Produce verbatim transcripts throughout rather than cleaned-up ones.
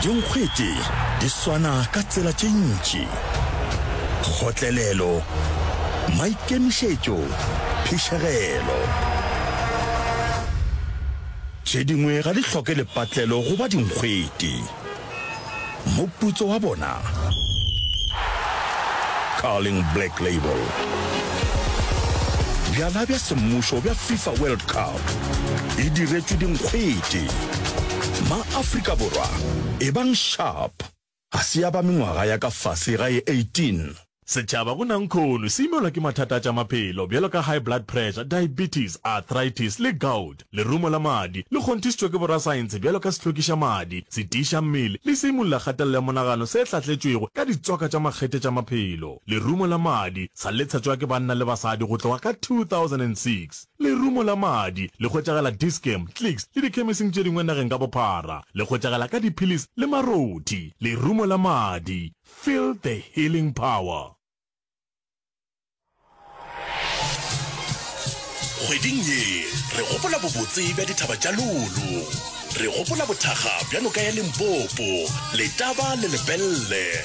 Dinkgwete di swana ka tsela tše ntši. Kgotlelelo, maikemišetšo, phišegelo. Tše dingwe ga di hloke lepatlelo go ba dinkgwete. Moputso wa bona? Carling Black Label. Bjala bja semmušo bja FIFA World Cup e diretšwe dinkgwete. Ma-Afrika Borwa, ebang sharp! Ga se ya ba mengwaga ya ka fase ga ye eighteen. Setšhaba go nankhono se imelwa ke mathata a tša maphelo bjalo ka high blood pressure, diabetes, arthritis le gout. Lerumo la madi le kgonthišitšwe ke borasaense bjalo ka sehlokiša madi, setiiša mmele le seimolla kgatelelo ya monagano se hlahletšwego ka ditswaka tša makgethe tša maphelo. Lerumo la madi sa le tshetšwa ke banna le basadi go tloga ka two thousand and six Lerumo la madi le hwetšagala Dis-Chem, Clicks le dikhemising tše dingwe nageng ka bophara. Le hwetšagala ka diphilisi le marothi. Lerumo la madi, feel the healing power. Kgweding ye re gopola bobotse bja dithaba tša Lulu. Re gopola bothakga bja noka ya Limpopo, Letaba le Lepelle.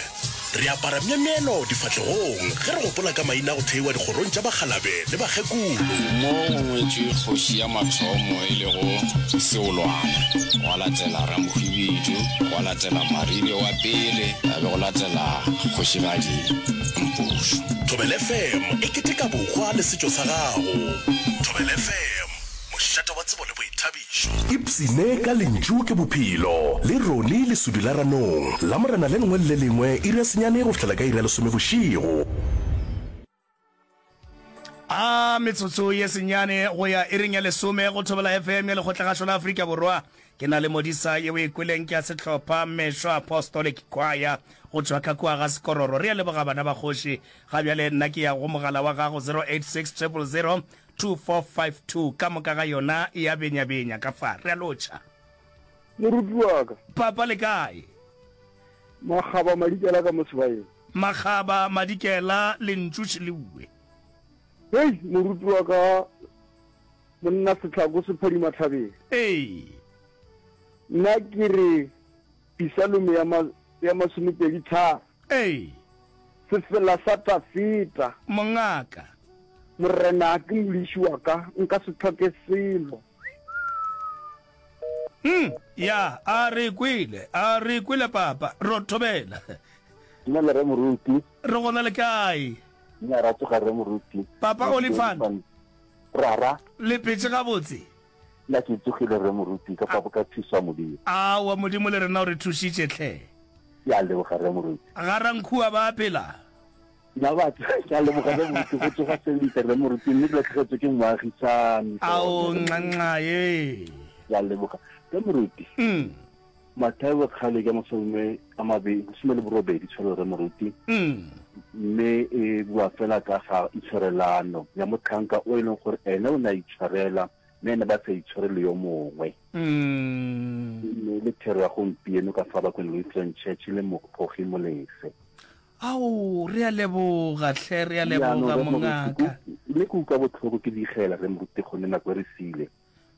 Re apara myemyelo difahlegong ge re gopola ka maina a go theiwa dikgorong tša bakgalabe le bakgekolo. Mo go ngwetšwe kgoši ya mathomo e lego Seolwana, gwa latela Ramohwibidu, gwa latela Maribe wa pele, ya be go latela Kgošigadi Mpušo. Thobela F M e keteka bohwa le setšo sa gago. Thobela F M, mošate wa tsebo le boithabišo. Ipshine ka Lentšu ke Bophelo le Ronnie Lesudi la Ranong, Lamorena le lengwe le le lengwe iri ya senyane go fihlela ka iri ya lesome bošego. A metsotso ye senyane go ya iring ya lesome go Thobela F M ya Lekgotlagašo la Afrika Borwa. Ke na le modisa ye o e kweleng ke ya sehlopha Mešo Apostolic Choir go tšwa ka kua ga Sekororo. Re a leboga bana ba kgoši. Ga bjale nna ke ya go mogala wa gago zero eight six triple zero two four five two ka moka ga yona e a benyabenya ka fa. Re a lotšha. Moruti wa ka. Papa le kae? Makgaba Madikela ka mo sebaeng. Makgaba Madikela lentšu šeleuwe. Hei moruti wa ka monna setlhako se phadima thabeng. Ee. Nna ke re Pisalome ya ma, ya masomepedi tharo. Ee. Sefela sa Tafita. Mongaka. Morena ke modiši wa ka, nka se hloke selo. Hm, ya, a re kwele, a re kwele papa, ro thobela. Dumela Rre Moruti. Re gona le kae? Nna ra tsoga Rre Moruti. Papa Olifant. Rara. Le phetše gabotse? Nna ke tsogile Rre Moruti ka fa ka thuso ya Modimo. Aowa Modimo le rena o re thušitše hle. Ke a leboga Rre Moruti. Ga Rankhua ba a phela? Nna batho ke a leboga Rre Moruti go tsoga sentle Rre Moruti mme ke latlhegetswe ke moagisani. Ao nxa ye. Ke a leboga Rre Moruti. Mm. Mathaio kgale ke masome a mabedi lesome le borobedi tshwelo Rre Moruti. Mm. Mme e bua fela ka ga itshwarelano ya motlhanka o e leng gore ene o ne a itshwarela mme ene ba sa itshwarele yo mongwe. Mm. Mme le thero ya gompieno ka fa Bakwena Lutheran Church le Mogogi Molefe. Ao, re a leboga hle, re a Jaanong leboga Rre Moruti, mongaka. mme ke utlwa botlhoko ke digela Rre Moruti gonne nako e re siile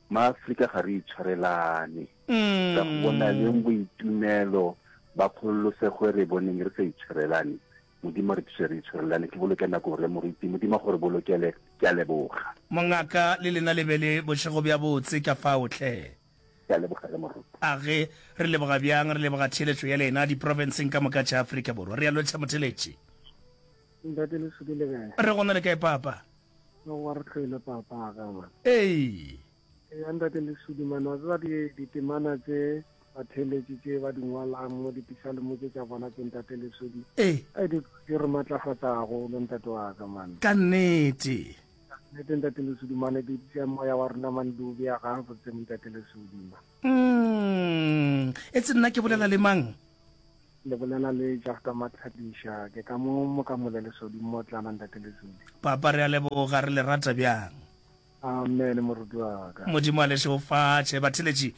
maAfrika ga re itshwarelane. Ka go bona leng boitumelo ba kgololosego e re boneng re sa itshwarelane. Modimo re thuse re itshwarelane. Ke boloke nako Rre Moruti, Modimo a gore bolokele, ke a leboga. Mongaka le lena le be le bošego bja botse ka fao hle. Ke a leboga Rre Moruti. A ge re leboga bjang, re leboga theeletšo ya lena diprofenseng ka moka tša Afrika Borwa. Re a lotšha motheeletši. Ntate Lesodi le kae? Re gona le kae papa? Re go re tlhoile papa ka man. Ee. Ya ntate Lesodi man, wa tseba di ditemana tse batheeletši tše ba di ngwalang mo dipisalemo tše tša bona tše ntate Lesodi. Ee. Ai di di re matlafatsa haholo ntate wa ka man. Ka nnete. Ka nnete ntate Lesodi man, di tšea moya wa rena man di o bea gabotse ntate Lesodi man. Mm. Etse nna ke bolela le mang? Le bolela le Jafta Matlhadiša, ke ka mo Mokamole Lesodi mmotlana ntate Lesodi. Papa re a leboga, re le rata bjang. Amen moruti wa ka. Modimo a le šegofatše. Batheeletši,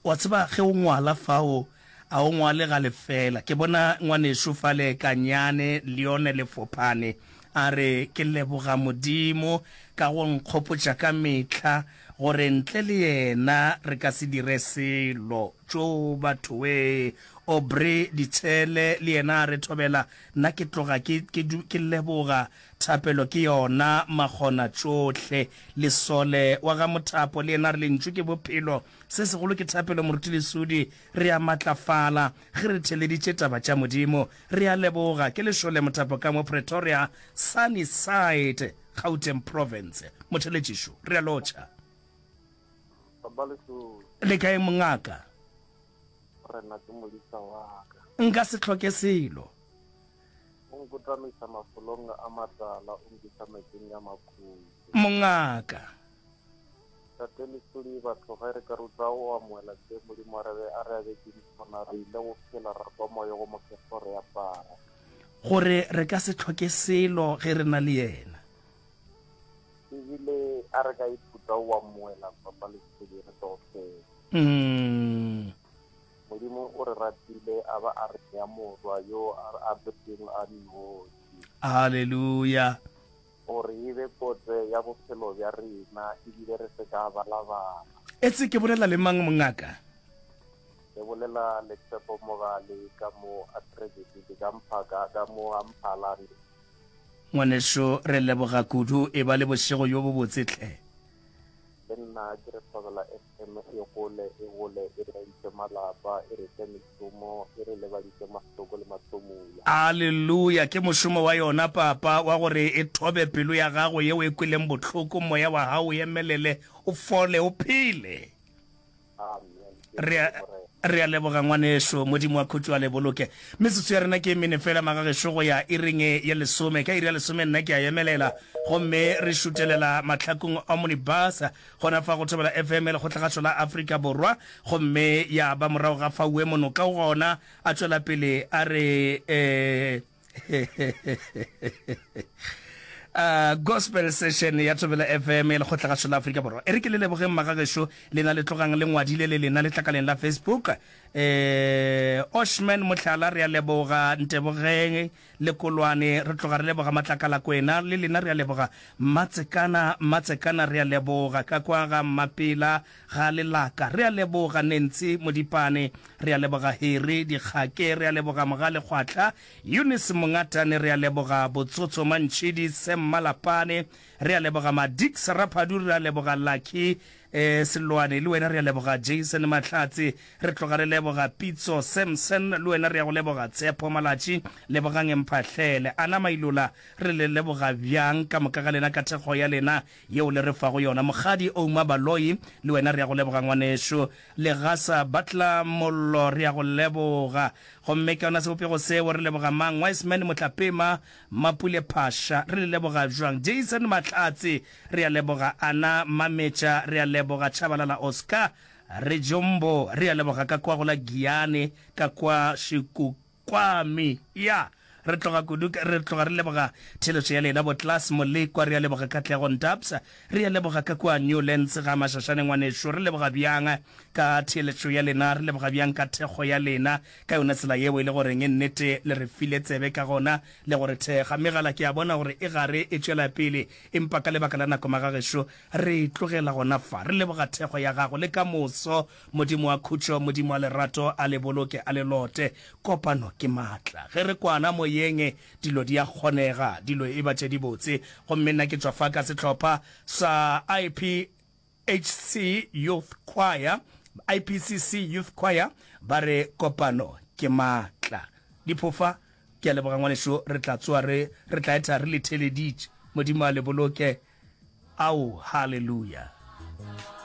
wa tseba ge o ngwala fao, a o ngwale ga lefela. Ke bona ngwanešu fale Kanyane Leone Lefophane a re, Ke leboga Modimo ka go nkgopotša ka mehla gore ntle le yena re ka se dire selo. Tšo batho wee! Aubrey Ditshele le yena a re thobela, Nna ke tloga ke, ke, ke leboga. Thapelo ke yona makgona tšohle. Lesole wa ga Mothapo le yena a re Lentšu ke bophelo. Se segolo ke thapelo Moruti Lesudi. Re a matlafala ge re theleditše taba tša Modimo. Re a leboga. Ke Lešole Mothapo ka mo Pretoria, Sunnyside, Gauteng Province. Motheletšišo, re a lotšha. Baba Lesudi. Le kae mongaka? Morena ke modisa wa ka. Nka se hloke selo. O nkotamiša mafolong a matala, o nkiša metsing a makhutšo. Mongaka. Tate Lesodi, batho ge re ka ruta go amohela se Modimo a re be a re abetšeng sona, re ile go phela ra kwa moya wo mokgethwa o re apara. Gore re ka se hloke selo ge re na le yena. Ebile a re ka ithuta go amohela Papa Lesodi re tlo phela. Mm. Modimo o re ratile a ba a re nea Morwa yo a a betseng a nnoši. Haleluya. Gore e be kotse ya bophelo bja rena ebile re se ka balabala. Etse ke bolela le mang mongaka? Ke bolela le Tshepo Mogale ka mo Atrebetile ka Mphaka ka mo ga Mphalane. Ngwaneso re leboga kudu, eba le bošego bjo bobotse hle. Le nna ke re Thobela F M e gole, e gole, e re agiše malapa, e re fe mešomo, e re lebadiše mahloko le mahlomola. Aleluya! Ke mošomo wa yona, Papa, wa gore e thobe pelo ya gago yeo e kweleng bohloko, moya wa gago o emelele, o fole, o phele. Amen. Ke Re a, leboge Morena. re a leboga, ngwaneso. Modimo wa khutšo a le boloke. Metsotso ya rena ke e mene fela, magagešo, go ya iring ya lesome. Ka iri ya lesome nna ke a emelela, gomme re šutelela mahlakong Omnibus, gona fa go Thobela F M ya Lekgotlagašo la Afrika Borwa. Gomme ya ba morago ga faue monoka o gona, a tšwela pele a re, eh, Uh, gospel session ya Thobela F M ya Lekgotlagašo la Afrika Borwa. E re ke le lebogeng magagešo, lena le tlogang le ngwadile le lena letlakaleng la Facebook. Eh, Oshman Mohlala re a leboga, Ntebogeng le Kolwane re tloga re leboga, Matlakala Kwena le lena re a leboga, Matsekana Matsekana re a leboga, ka kwa ga Mmapela ga Lelaka re a leboga, Nancy Modipane re a leboga, Harry Dikgake re a leboga, Mogale Kgwahla Eunice Mongatane re a leboga, Botsotso Mantšhidi Sam Malapane re a leboga, Madix Raphadu re a leboga, Lucky eh, Selwane le wena re a leboga, Jason Mahlatse re tloga re leboga, Pitso Samson le wena re ya go leboga, Tshepo Malatši lebogang Mphahlele, Ana Mailola re le leboga bjang ka moka ga lena ka thekgo ya lena yeo le re fago yona, Mokgadi Ouma Baloyi le wena re ya go leboga ngwaneso, Legasa Butler Mollo re ya go leboga. Gomme ka yona sebopego seo re leboga mang? Wiseman Motlapema, Mapule Phasha, re le leboga bjang? Jason Mahlatse, re a leboga. Ana Mametša, re a leboga. Chabalala Oscar, Rejombo, re a leboga ka kwa go la Giyane, ka kwa Shikukwami. Ya, re tloga kudu, re tloga re leboga theeletšo ya lena. Bo Klaas Molekwa, re a leboga. Katlego Ntabs, re a leboga ka kua Newlands ga Mashashane ngwaneso. Re leboga bjang ka theeletšo ya lena, re leboga bjang ka thekgo ya lena, ka yona tsela yeo e le goreng nnete le re file tsebe ka gona le go re thekga. Megala ke a bona gore e gare e tšwela pele, empa ka lebaka la nako magagešo re e tlogela gona fa. Re leboga thekgo ya gago le ka moso. Modimo wa khutšo, Modimo wa lerato a le boloke, a le lote. Kopano ke maatla. Ge re kwana moyeng, dilo di a kgonega, dilo e ba tše dibotse. Gomme nna ke tšwa fa ka sehlopha sa I P H C Youth Choir, I P C C Youth Choir, ba re kopano ke maatla. Diphofa, ke a leboga ngwanešu, re tla tsoa re, re tla etha re le theeleditše. Modimo a le boloke. Ao, haleluya.